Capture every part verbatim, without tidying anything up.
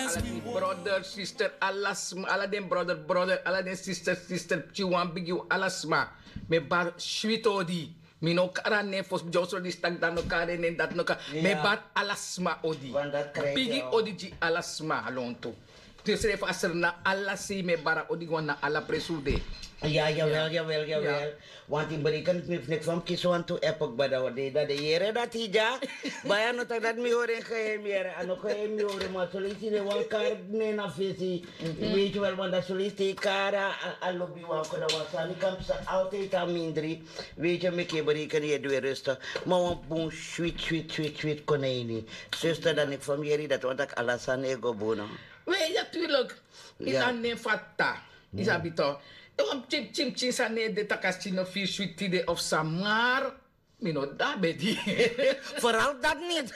Ala den brother sister, ala sma, ala den brother brother, ala den sister sister, pikin wan bigi, ala sma. Mi e bari switi odi. Mi no kari a nen fosi, mi dyonsro disi taki dati no kari en nen, dati no kari. Mi e bari ala sma odi. Bigi odi gi ala sma lontu. Te srefi a srna ala sei, mi e bari a odi gi wan na ala presi un de. Ya, yawel, yawel, yawel. Want in berekening mi fu neki fa mi kisi wantu epo kba dan wan dei dan den yere dati dya. Baya no taki dati mi hori en geheim yere, a no geheim mi hori, ma soleisi den wan kari nen na fesi. Weet je wel, want dan soleisi te kari a, a lobi wan koda wan sani kan psa altijd a mindri. Weet je, meki e berekening ye du e rustig. Ma wan bun swit swit swit swit kon na ini. Zuster, dan neki fa mi yere dati wan taki ala sani e go bun no. We, ya, tuurlijk. Ina nen fata. Isabito. E wan pikin pikin pikin sani e de taki a skin no firi switi de of samar. Mi no dabe di. Vooral dat niet.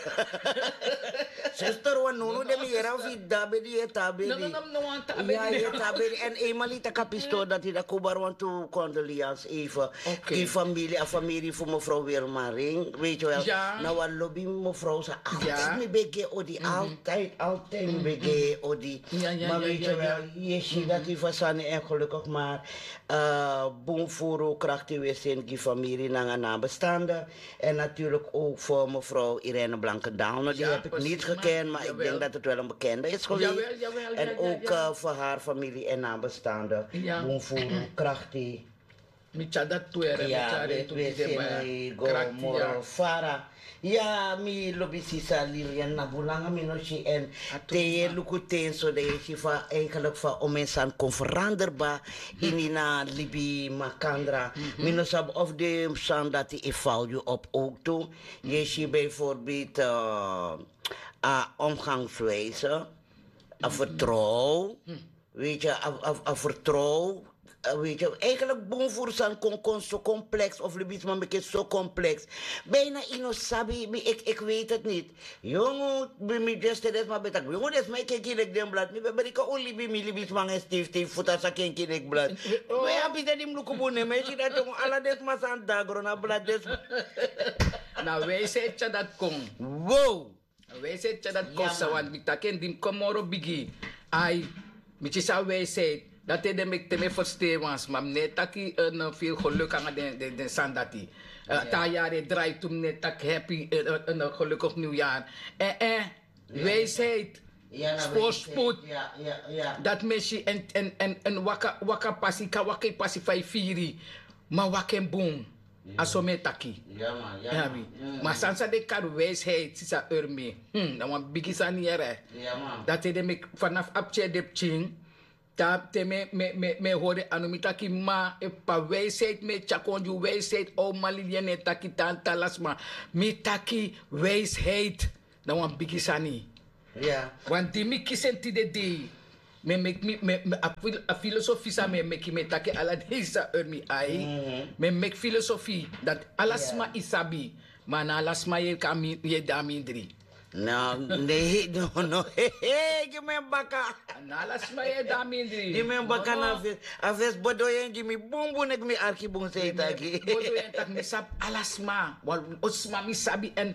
Zuster, wan nunu de mi yere of yu dabe di, yu e tabe di. No, no, no, no, wan tabe di. Ya, yu e tabe di. En eenmaal yu taki a pistori dati, dan kon bari wantu condoleance even. Oké. Gi famiri, a famiri fu mevrouw Wilma Ring. Weet je wel, na wan lobi mevrouw sa. Altijd mi ben gi en odi, altijd, altijd mi ben gi en odi. Ma weet je wel, yu e si dati fa sani en gelukkig maar eh, bun furu krakti wesen gi famiri nanga nabestaanden. En natuurlijk ook voor mevrouw Irene Blankendaal. No, die heb ik niet gekend, maar ik denk dat het wel een bekende is geweest. En ook eh, voor haar familie en nabestaanden. Bun furu krakti. Mi tyari dati tu ere, mi tyari tu ere, mi go moro fara. Ya, mi lobi sisa Lilian, na bun langa mi no si en. Te yu e luku ten so, dan yu e si fa eigenlijk fa omeni sani kon verander kba ini a libi makandra. Mi no sabi of den sani dati e val yu op ook tu. Yu e si bijvoorbeeld eh, a omgangswijze, a vertrouw. Weet je, a, a, a vertrouw. Eh, weet je, eigenlijk bun furu sani kon, kon so complex, of libisma meki so complex. Bijna yu no sabi, mi, ik, ik weet het niet. Yongu, mi, mi just den sma ben taki, yongu, den sma e kenki leki den blad. Mi ben bereik un libi, mi libisma nanga en stifi stifi futu a sa kenki leki blad. We abi den di mi luku bun, ne, mi e si dati yongu, ala den sma san de na gron na blad, den sma. Na wijsheid tyari dati kon. Wow. Wijsheid tyari dati kon, want mi taki en di mi kon moro bigi. Ai, mi kisi a wijsheid. Dati ede meki te mi e fersten wan sma, mi no e taki en, eh, veel geluk nanga den, den, den sani dati. Eh, te a yari e drai tu, mi no e taki happy, eh, eh, eh, gelukkig nieuwjaar. Eh, eh, wijsheid. Voorspoed. Dati mi e si en, en, en, en waka, waka pasi, kan waka yu pasi fa yu firi. Ma waka en bun. A so mi e taki. Ma sani san den kari wijsheid, sisa Urmi. Hmm, na wan bigi sani yere. Dati ede meki vanaf a pikin de pikin. Te mi, mi, mi, mi e hori anu, mi taki ma, e p'pa wijsheid, mi e tyari kon gi wijsheid, o mali yu e taki tanta, ala sma. Mi taki wijsheid. Na wan bigi sani. Want di mi kisi en tide dei, mi e meki mi, mi, mi, a fil-, a filosofi san mi e meki, mi e taki ala dei, sisa Urmi, ai. Mi e meki filosofi dati ala sma e sabi, ma na ala sma yu e kon a mi-, yu e de a mindri. No, no, no, gi mi en baka. Na ala sma yu e de a mindri. Gi mi en baka na fesi. A fesi bodo yu en gi mi bunbun, neki mi arki bun san yu taki. Bodo yu en taki mi sabi ala sma. Wan sma mi sabi en.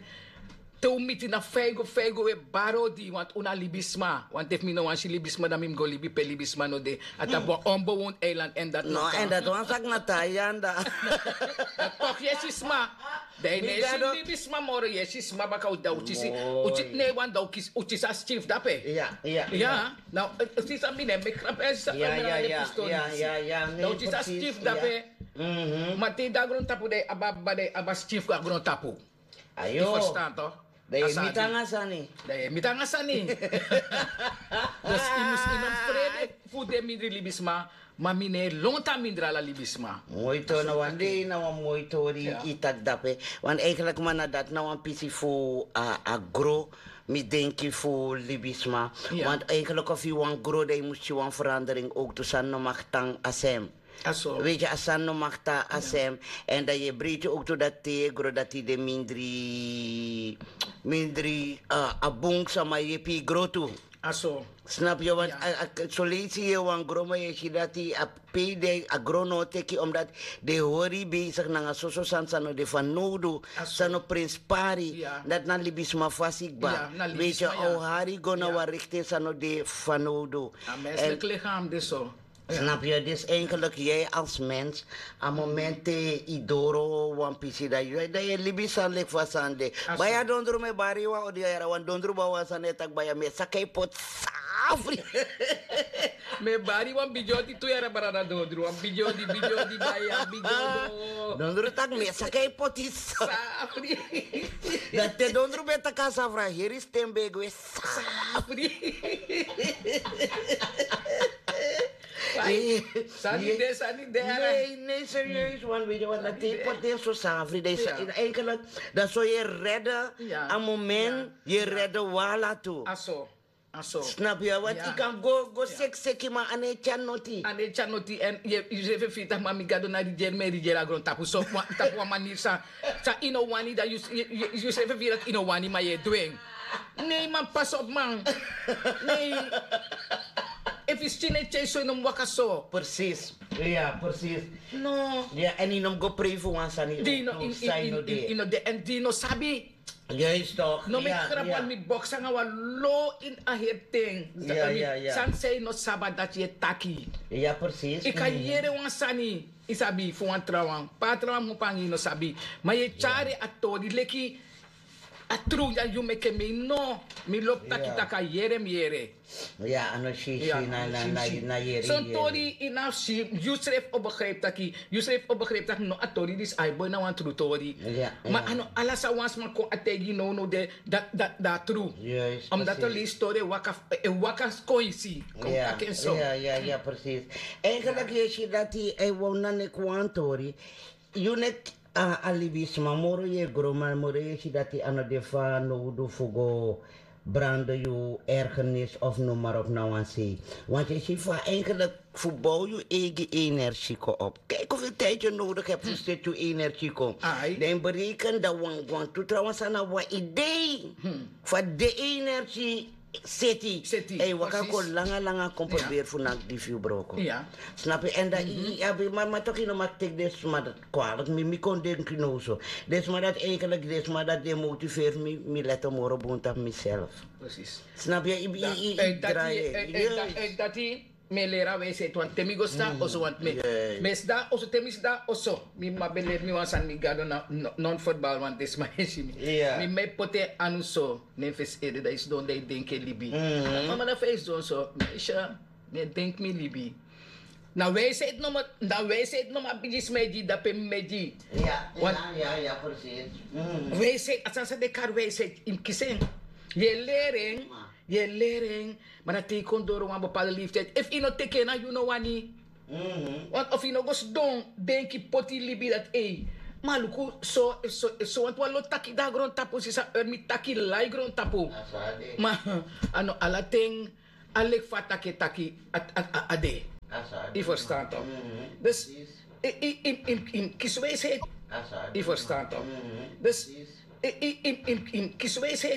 Te un miti na fa yu go, fa yu go, un e bari odi, want un na libisma. Want efu mi no wani si libisma, dan mi mus go libi pe libisma no de. A tapu wan onbewoond eiland, en dati no kan. No, en dati wan saki na te a yanda. Dan toch yu e si sma. Dan yu no e si libisma moro, yu e si sma baka, un, dan un kisi, un kisi, ne, want dan un kisi, un kisi a skin fu dape. Ya, ya, ya. Na, eh, sisa, mi no e meki grap, eh, sisa, ya, ya, ya, ya, ya, ya, dan un kisi a skin fu dape. Ma te yu de a grontapu, dan yu abi, dan yu abi a skin fu a grontapu. Ayo. Yu ferstan, toch? Dan yu e miti nanga sani. Dan yu e miti nanga sani. Dus yu mus, yu no mus frede fu de mindri libisma, ma mi no e lontu a mindri ala libisma. Moi tori, na wan dei, na wan moi tori yu taki dape. Want eigenlijk, ma, na dati na wan pisi fu a, a gro, mi denki, fu libisma. Want eigenlijk efu yu wani gro, dan yu mus si wan verandering ook tu, sani no mag tan a sem. Weet je, a sani no mag tan a sem. En dan yu e breiti ook tu dati te yu e gro dati de mindri, mindri, eh, a bun sama yepi yu gro tu. Snap yu want? Soleisi yu e wan gromo yu e si dati a pei den a gron no o teki omdat den hori besigi nanga soso sani san no de fanowdu, san no prenspari. Dati na libisma fasi kba. Weiti yu a o hari go na wan rikten san no de fanowdu. A menslik lichaam de so. Snap yu? Dus eigenlik yu als mens a moment te yu doro wan pisi dan yu dan yu e libi sani leki fa sani de. Baya dondru mi e bari yu wan odi yara wan dondru ba wan sani e taki baya mi e saka yu poti safri. Mi e bari wan bigi odi tu yara brada dondru wan bigi odi bigi odi baya bigi odi. Dondru taki mi e saka yu poti safri. Dan te dondru ben taki a safra heri sten ben e gwe safri. Sani de sani de. Nei nei serieus wan witi wan dati poti den so safri den sa enkelik. Dan so yu e redde a moment yu e redde wala tu. Snap yu want yu kan go go seki seki ma a no e tyari noti. A no e tyari noti èn yu srefi e firi taki ma mi gado na rigeri mi e rigeri a grontapu so tapu wan maniri san san yu no wani dan yu srefi e firi taki yu no wani ma yu e du en. Nei man pas op man. Nei. Efu yu skin e tyai so yu no mus waka so. Presis. Ya presis. No. Ya èn yu no mus go prei fu wan sani di yu no de. Èn di yu no sabi. Juist toch. No mi krapu wan mi boksi nanga wan lo ini a heri ten. Sani san yu no sabi a dati yu e taki. Ya presis. Yu kan yere wan sani. Yu sabi fu wan trawan pe a trawan mu pangi yu no sabi. Ma yu e tyari a tori leki a tru ya yu meke mi no. Mi lobi taki taki a yere mi yere. Ya a no si si na na na yere. Son tori yu na si yu srefi o begripi taki yu srefi o begripi taki no a tori disi a e boi na wan tru tori. Ma a no ala san wan sma kon a taigi yu nownow de. Dati a tru. Omdati a leisi tori e waka e waka kon yu si. Kon taki en so. Ya ya presis. Eigenlik yu e si dati a e wani na neki wan tori. Yu neki a libisma moro yu e gro ma moro yu e si dati a no de fanowdu fu go brande yu ergernis of noem maar op na wan sei. Want yu e si fa eigenlik fu bow yu eigi energie kon op. Kijk hoeveel tijd yu nodig hebt fu seti yu energie kon. Dan yu bereken dan wan wan tu trouwens a na wan idee. Fa de energie seti. Èn yu waka kon langa langa kon proberi fu naki di fu yu broko. Snap yu èn dan yu abi mama toki no maki teki den sma dati kwalik mi mi kon denki now so. Den sma dati eigenlik den sma dati den motiveri mi mi leti moro bun tapu miself. Snap yu? Yu yu yu drai yu. Mi e leri a wijsheid want te mi go sta oso want mi mi e sda oso te mi sda oso mi mama ben leri mi wan sani mi gado na non footbal want den sma e si mi. Mi mama e poti en anu so. Ne en fesi ede dan yu sidon dan yu denki en libi. Mama na fa yu sidon so mi e si a mi e denki mi libi. Na wijsheid no mi a bigi sma e gi dape mi e gi. Wijsheid a sani san den kari wijsheid yu mus kisi en. Yu e leri en. Yu e leri en. Ma na te yu kon doro wan bepalde leeftiyd efu yu no teki en na yu no wani. Want efu yu no go sidon denki poti yu libi dati ei. Ma luku so efu so wantu wan lo taki de na grontapu sisa eri mi taki lai grontapu. Ma a no ala ten. A leki fa a taki e taki a de. Yu ferstan tok? Dus yu mus kisi wijsheid. Yu ferstan tok? Dus yu mus kisi wijsheid.